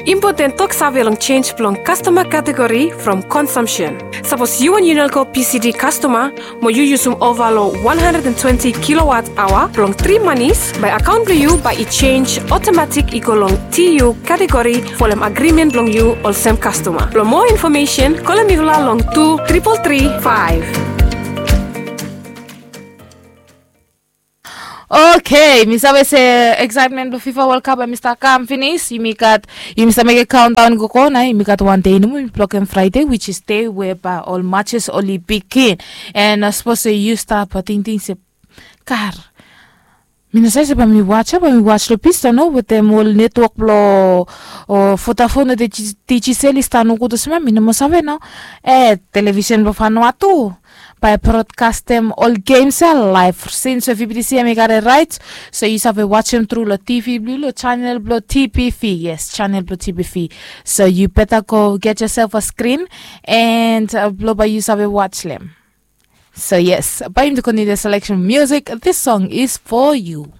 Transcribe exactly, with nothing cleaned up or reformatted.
Impoten toksave long sens blong kastoma kategori from konsumsen. Sapos yu wan Unelco P C D kastoma mo yu yusum ova long wan handred and twenti kilowat aoa blong tri manis, bae akaon blong yu bae i sens otomatik i go long T U kategori folem agrimen blong yu olsem kastoma. Blong moa infomesen, kolem mifala long tu tripol tri faef. Okei, mi save se eksaetmen blong FIFA World Cup hemi stap kam finis. Yumi gat, yumi stap mekem kaondaon i gogo nao, yumi gat wan dei nomo, yumi blokem Fraede, which is dei we bae ol matches oli bigin. And sapos se yu stap tingting se, kar, mi no save se bae mi was ya, bae mi was long pista no, wetem ol netwok blong Vodafone o Digicel i stap nogud olsem ya, mi no moa save nao. E, televisen blong Vanuatu bae brodkastem ol gems ya laef, since we V B T C hemi gat raet. So yu save wasem tru long T V blong yu, long chanel blong T B V. Yes, chanel blong T B V. So yu beta go get yourself a screen and blong bae yu save was lem. So yes, bae yumi kontiniu the selection music. This song is for you.